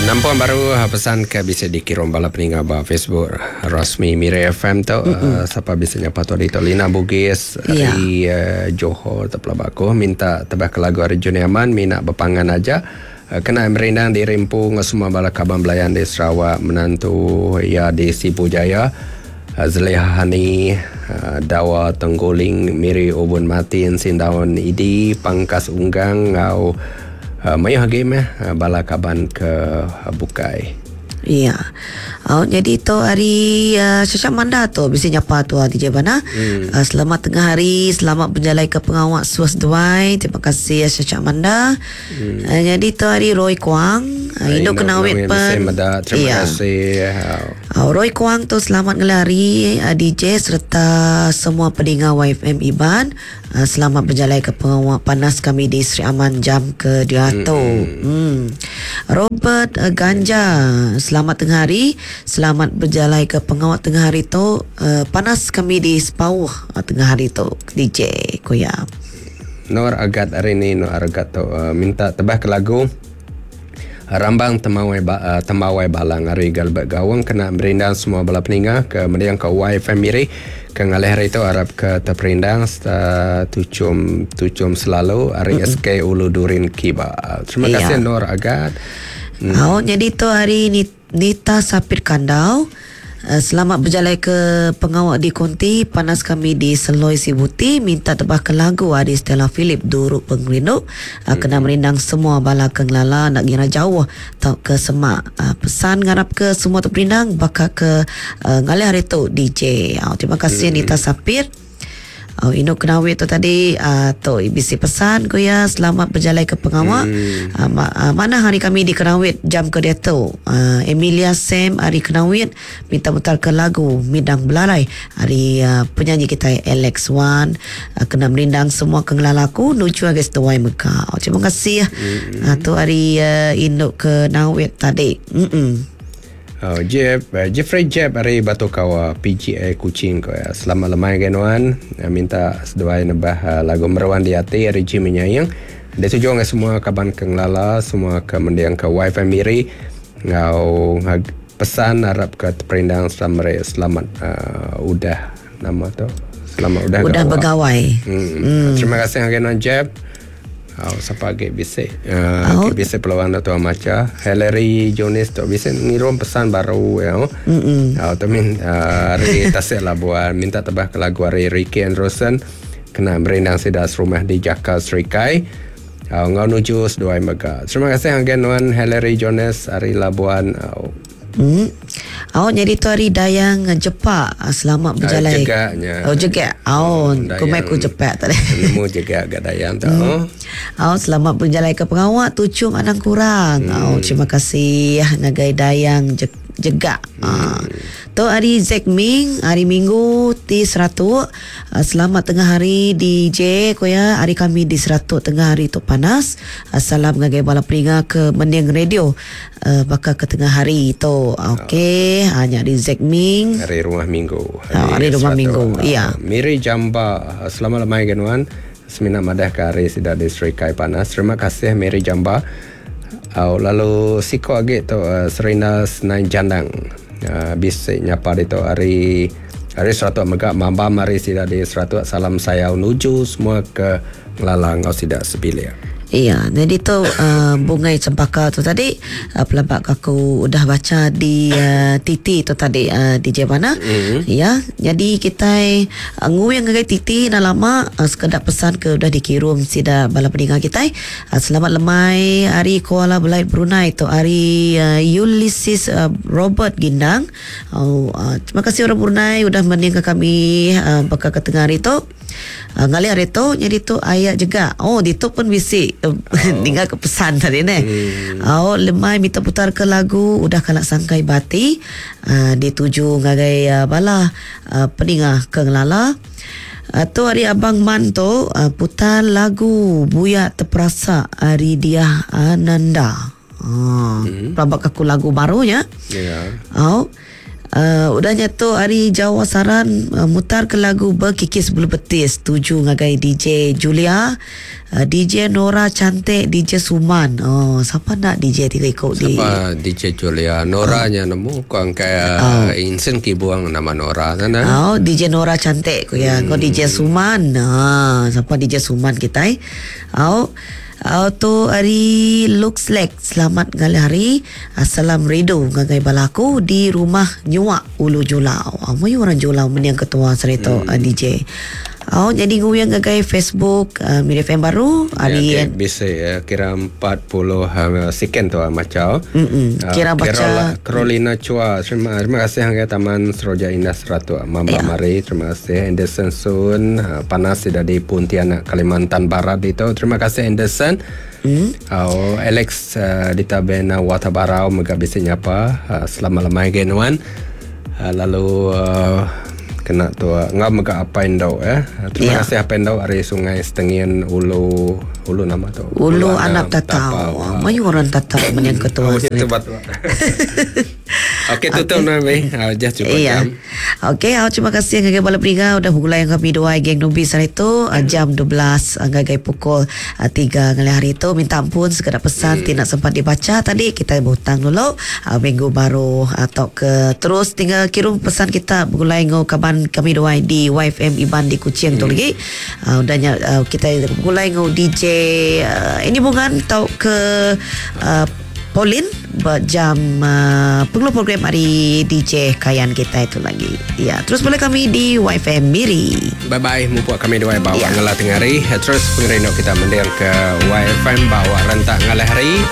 Nampung baru pesan ke bisi dikirum bala peninga ba Facebook rasmi Miri FM tu. Sapa bisi nyapa tu ditu Lina Bugis ari Johor tu pelaba aku minta tebah ke lagu ari Juni Aman mina bepangan aja. Kena merindang diri empu enggau semua bala kaban belayan di Sarawak menantu iya di Sibu Jaya. Zaleha Hani, Dawa Tengguling, Miri Ubun Martin, Sindaun Idi, Pangkas Unggang enggau mayuh agi meh bala kaban ke bukai. Iya. Au nyadi tu hari uh, Sasha Manda tu bisi nyapa tu DJ Bana. Uh, selamat tengah hari, selamat berjalai ke pengawa suas duai. Terima kasih Sasha Manda. Uh, jadi tu hari Roy Kuang, uh, indu kena awet pen. Meda, terima ya. kasih. Uh, Roy Kuang tu selamat ngelari uh, DJ serta semua peninga YFM Iban. Uh, selamat berjalai ke pengawa panas kami di Sri Aman jam ke diatu. Hmm. Robert uh, Ganja, selamat tengah hari. Selamat berjalai ke pengawa tengah hari tu. Uh, panas kami di Sepauh uh, tengah hari tu DJ Koya. Nur Agat hari ni Nur Agat tu uh, minta tebah ke lagu Rambang Temawai ba, uh, Tembawai Balang ari Galbert Gawang kena merindang semua bala peninga ke mendiang ke YFM Miri ke ngalih hari tu arap ke terperindang serta tuchum tuchum selalu ari SK Ulu Durin Kiba. Terima iya. kasih Nur Agat. Oh, jadi tu hari ni Nita Sapit Kandau, Selamat bejalai ke pengawa di konti panas kami di Seloi Sibuti minta tebah ke lagu ari Stella Philip Duru Pengerindu kena merindang semua bala ke ngelala enda ngira jauh tauka semak. Pesan ngarap ke semua teperindang baka ke ngalih hari tu DJ. Terima kasih Nita Sapit. Oh, indu kenawit tu tadi uh, tu bisi pesan ku iya selamat berjalai ke pengawa. Hmm. Uh, ma- uh, mana hari kami di Kenawit jam ke diatu. Uh, Emilia Sam hari Kenawit minta mutar ke lagu Midang Belalai hari uh, penyanyi kita Alex Wan uh, kena merindang semua ke ngelala aku nuju agai seduai mega. Oh, terima kasih. Hmm. Uh, tu hari uh, indu Kenawit tadi. Hmm. Oh, Jeff, eh, Jeffrey Jeb ari Batu Kawa, PGA Kuching ko ya. Selamat lemai gai nuan. Eh, minta seduai nebah eh, lagu Meruan di Ati ari Jimmy Nyaing. Dituju ngai semua kaban ke ngelala, semua ke mending ke wifi Miri ngau pesan arap ke teperindang serta meri selamat uh, udah nama tu. Selamat udah udah begawai. Hmm. Terima kasih ngagai nuan Jeb. Au sapa agi bisi uh, agi bisi peluang enda tuan macha. Hillary Jonis tu bisi ngirum pesan baru ya. Mm Au tu min uh, ari Tasik Labuan minta tebah ke lagu ari Ricky Anderson kena merindang sida serumah di Jaka Serikai. Au enggau nuju seduai mega. Terima kasih ngagai nuan Hillary Jones ari Labuan. Au Hmm. Au nyadi tu hari Dayang Jepak selamat berjalai. Jegak nya. Oh jegak. Au ku mai ku Jepak tadi. Nemu jegak ga Dayang tu. Hmm. Au selamat berjalai ke pengawa tuchum anang kurang. Hmm. Au terima kasih ngagai Dayang Jegak. Hmm. Ha. Tu hari Zack Ming, hari Minggu ti Seratuk. Selamat tengah hari DJ ku iya. Hari kami di Seratuk tengah hari tu panas. Salam ngagai bala peninga ke mending radio. Baka ke tengah hari tu. Okey, ha nya di Zack Ming. Hari rumah minggu. Hari, hari rumah minggu. Ya. Miri Jamba. Selamat lemai ke nuan. Semina madah ke hari sida di Serikai panas. Terima kasih Miri Jamba. Au lalu siko agi tu uh, Serina Senai Jandang. Uh, bisi nyapa ditu hari hari Seratuk mega mambam hari sida di Seratuk. Salam sayau nuju semua ke Ngelala enggau sida sebilik. Iya, nyadi tu uh, bungai cempaka tu tadi uh, pelaba aku udah baca di uh, TT tu tadi uh, DJ mana. Mm-hmm. Ya, jadi kitai uh, nguing ngagai TT dah lama uh, sekeda pesan ke udah dikirum sida bala peninga kitai. Uh, selamat lemai hari Kuala Belait Brunei tu hari uh, Ulysses uh, Robert Gindang. Uh, uh, terima kasih orang Brunei udah mendingka kami uh, baka ke tengah hari tu. Uh, ngalih hari tu nyadi tu ayat juga. Oh ditu pun bisi oh. ninga ke pesan tadi ne. Hmm. Oh lemai minta putar ke lagu udah kala sangkai bati uh, dituju ngagai uh, bala uh, peninga ke ngelala. Uh, tu hari Abang Man tu uh, putar lagu Buya Terperasa hari dia Ananda. Uh, hmm. Pelabak aku lagu baru nya. Yeah. Oh. Udah nya tu ari Jawa Saran mutar ke lagu Bekikis Bulu Betis tuju ngagai DJ Julia, DJ Nora Cantik, DJ Suman. Oh, sapa enda DJ tiga iku di. Sapa DJ Julia? Nora nya nemu ku angkai oh. Insen Kibung nama Nora sana. Oh, DJ Nora Cantik ku ya. Ko DJ Suman. Ha, sapa DJ Suman kitai? Oh. Au tu ari Lux Lake. Selamat ngalih hari. Salam rindu ngagai bala aku di rumah Nyuak Ulu Julau. Au mayuh orang Julau mending ketua sehari tu hmm. DJ. Au jadi nguyang ngagai Facebook uh, Miri FM baru hari ya, okay. bisa ya, kira 40 uh, second tu macam. Mm Kira uh, baca Carolina Chua terima terima kasih ngagai Taman Seroja Indah Seratu Mama ya. Mari terima kasih Anderson Sun uh, panas sudah di Pontianak Kalimantan Barat itu terima kasih Anderson. Mm. Oh, Alex uh, di Tabena Watabarau mega bisi nyapa uh, selamat lemai gai nuan. Lalu uh, kena tu ngau mega apa indo eh. Terima kasih apa indo ari Sungai Setengin Ulu Ulu nama tu. Ulu, Ulu Anak Tatau. Tatau. Mayu orang Tatau menyang ketua. Oh, itu batu. Okey tutup okay. Nami. Just cukup iya. Jam. Okey, terima kasih ngagai bala peringa udah begulai dengan kami dua geng Nubi sehari tu jam 12 ngagai pukul 3 ngalih hari tu. Minta ampun sekeda pesan ti nak sempat dibaca tadi kita berhutang dulu minggu baru atau ke terus tinggal kirim pesan kita begulai ngau kaban kami dua di YFM Iban di Kuching tu lagi. Udahnya kita begulai ngau DJ ini bungan tau ke Pauline berjam pengeluar program hari DJ Kayan kita itu lagi. Ya, terus boleh kami di YFM Miri. Bye bye, mumpuk kami di bawa ya. Ngalah tengah hari. Terus pengerinduk kita mendir ke YFM bawa rentak ngalah hari.